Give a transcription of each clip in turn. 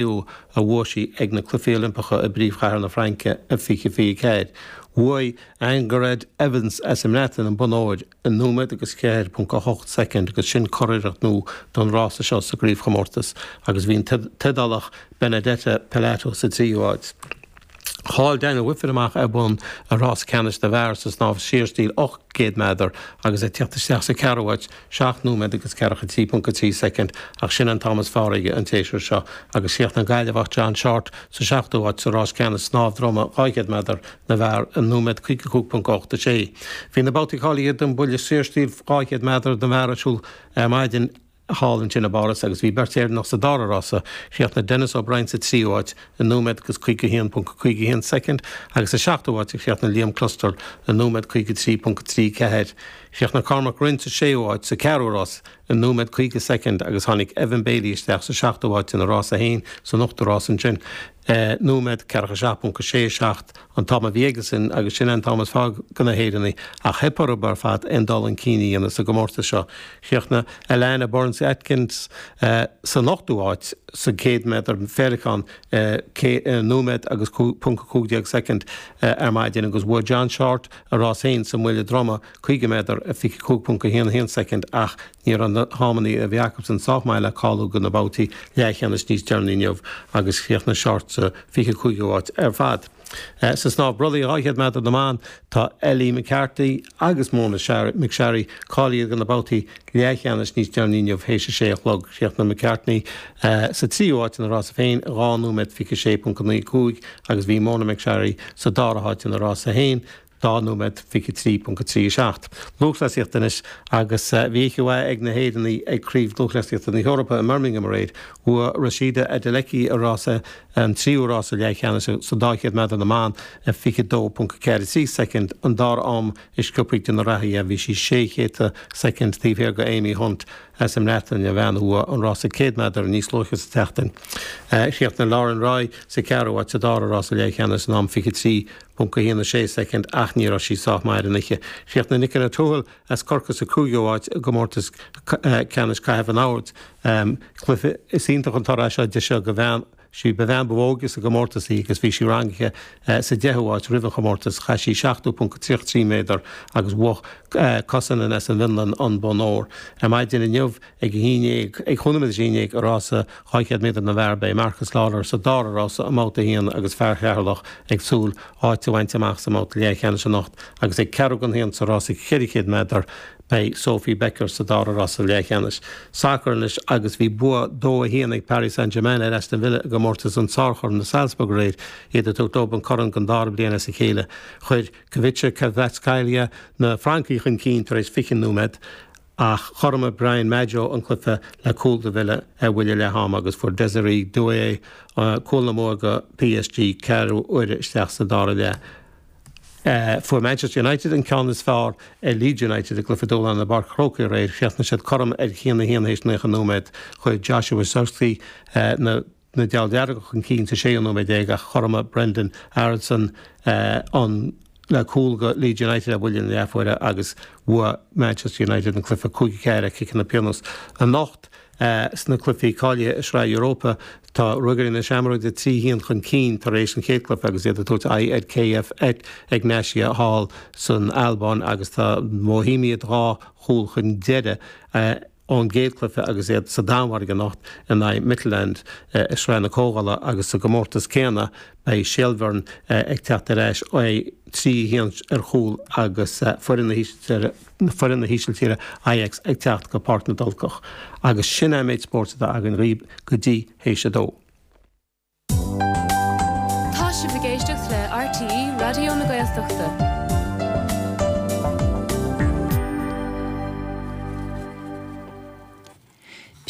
A bhuaigh sí ag na Cluichí Oilimpeacha i bpríomhchathair na Fraince i 2024. Bhuaigh Angharad Evans as an mBreatain an bonn óir i nóiméad agus 4.8 soicind agus sin curiarracht nua don rása seo sa gcraobhchomórtas agus bhí an tIodálach Benedetta Pilato sa tríú háit. Chaill Daniel Wiffen amach ar bhonn i rás ceannais na bhfear sa snámh saorstíl 800 méadar agus é ag teacht isteach sa cheathrú háit, 7 nóiméad agus 43.3 soicind, ach sin an t-am is fearr aige an tséasúr seo agus chríochnaigh an Gaillimheach John Shortt sa seachtú háit sa rás ceannais snámh droma 200 méadar na bhfear i nóiméad 55.86. Bhí na babhtaí cáilithe don bhuille saorstíl 200 méadar na bhfear ar siúl ar maidin. thall ansin i bPáras agus bhí beirt Éireannach sa dara rása, chríochnaigh Denis O'Brien sa tríú háit i nóiméad agus 51.51 soicind agus sa seachtú háit a chríochnaigh Liam Clustal i nóiméad 53.34. Chríochnaigh Cormac Rynne sa séú háit sa ceathrú rás i nóiméad 50 soicind agus tháinig Evan Bailey isteach sa seachtú háit ina rás féin san ochtú rás ansin i nóiméad 47.67. an t-am a bhí aigesan agus sin an t-am is fearr do na hÉireannaigh ach theip orthu ar fad aon dul chun cinn a dhéanamh sa gcomórtas seo. Chríochnaigh Alana Burns Atkins san ochtú háit sa 100 méadar féileacáin i nóiméad agus ponc 15 soicind ar maidin agus bhuaigh John Shortt a rás féin sa mbuille droma 50 méadar i 25.11 soicind ach ní raibh na hamanna a bhí acusan sách maith le cáiliú do na babhtaí leathcheannais níos deireanaí inniu agus chríochnaigh Shortt sa 25ú háit ar fad. Sa snámh brollaigh 200 méadar na mban, tá Ellie McCarthy agus Mona McSharry cáilithe do na babhtaí leathcheannais níos deireanaí inniu théis a sé a chlog. Chríochnaigh McCartney sa tríú háit ina rása féin i 2 nóiméad 26.95 agus bhí Mona McSharry sa dara háit ina rása féin 2 nóiméad 23.37. Lúthchleasaíocht anois agus bhí oíche mhaith ag na hÉireannaigh ag Craobh Lúthchleasaíochta na hEorpa i mBirmingham aréir. Bhuaigh Rhasidat Adeleke a rása, an tríú rása leathcheannais sa 200 méadar na mban i 22.43 soicind, an dara am is sciobtha de na reathaithe. Bhí sí sé chéadta soicind taobh thiar de Amy Hunt as an mBreatain, an bhean a bhuaigh an rása 100 méadar níos luaithe sa tseachtain. Chríochnaigh Lauren Roy sa cheathrú háit sa dara rása leathcheannais in am 23. .16 soicind ach ní raibh sí sách maith ar an oíche. Chríochnaigh Nicola Toohill as Corcaigh sa cúigiú háit i gcomórtas ceannais caitheamh an bhoird. Cluiche Is iontach an toradh é seo di seo do bhean sí ba bhean ba óige sa gcomórtas í agus bhí sí rangaithe sa deichiú háit roimh an chomórtas. Chaith sí 70.33 méadar agus bhuaigh Kosonen as an bhFionlainn an bonn óir. Ar maidin inniu Ag a haon dhéag, ag chúig nóiméad théis a haon dhéag i rása 200 méadar na bhfear, beidh Marcus Lawlor sa dara rása i mbabhta a haon agus fear Cheatharlach ag súil áit a bhaint amach sa mbabhta leathcheannais anocht agus ag ceathrú don haon sa rása 400 méadar beidh Sophie Becker sa dara rása leathcheannais. Sacar anois agus bhí bua 2-1 ag Paris Saint-Germain ar Aston Villa i gcomórtas an tSárchoirn i Salzburg aréir, iad ag tabhairt leo an corn don dara bliain as a chéile. Chuir Khvicha Kvaratskhelia na Francaigh chun cinn tar éis 20 nóiméad. Ach chothromaigh Brian Madjo an cluiche le cúl do Villa ar bhuille leath ama agus fuair Désiré Doué cúl na mbua do PSG ceathrú uaire isteach sa dara leath. Fuair Manchester United an ceann is fearr ar Leeds United i gcluiche dúshláin i bPáirc an Chrócaigh aréir. Chríochnaigh siad cothrom ar 1-1 théis 90 nóiméad. Chuir Joshua Zirkzee na. na Diabhail Dearga chun cinn sa séú nóiméad déag ach chothromaigh Brenden Aaronson an le cúl do Leeds United ar bhuille na leathuaire agus bhuaigh Manchester United an cluiche 5-4 ar chiceanna pionóis. Anocht sna cluichí cáilithe i Sraith Europa tá Ruagairí na Seamróige 3-1 chun cinn tar éis an chéad chluiche agus iad ag tabhairt aghaidh ar KF Egnatia thall san Albáin agus tá Bohemia dhá chúl chun deiridh ón gcéad chluiche agus iad sa Danmhairg anocht in aghaidh Midtjylland i Sraith na Comhdhála agus sa gcomórtas céanna beidh Shelbourne ag teacht ar ais 3-1 ar chúl agus foireann na hÍsiltíre Ajax ag teacht go Páirc na dTulcach. Agus sin é an méid spóirt atá againn dhaoibh go dtí théis a dó. Tá sibh ag éisteacht le RTÉ Raidió na Gaeltachta.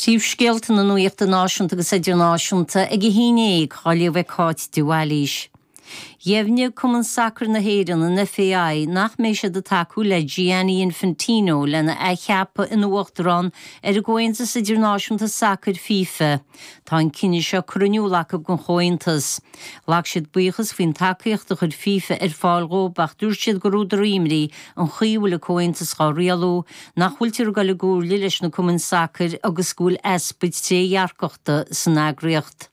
Príomhscéalta na nuachta náisiúnta agus idirnáisiúnta ag a haon dhéag, á léamh ag Cáit de Bhailís. Dheimhnigh Cumann Sacair na hÉireann, an FAI, nach mbeidh siad ag tacú le Gianni Infantino lena athcheapadh ina uachtarán ar an gComhaontas Idirnáisiúnta Sacair, FIFA. Tá an cinneadh seo curtha in iúl acu don Chomhaontas. Ghlac siad buíochas faoin tacaíocht a chuir FIFA ar fáil dhóibh ach dúirt siad gur údar imní an chaoi a bhfuil an Comhaontas dhá rialú, nach bhfuiltear ag dul i gcomhairle leis na cumainn sacair agus go bhfuil easpa trédhearcachta san eagraíocht.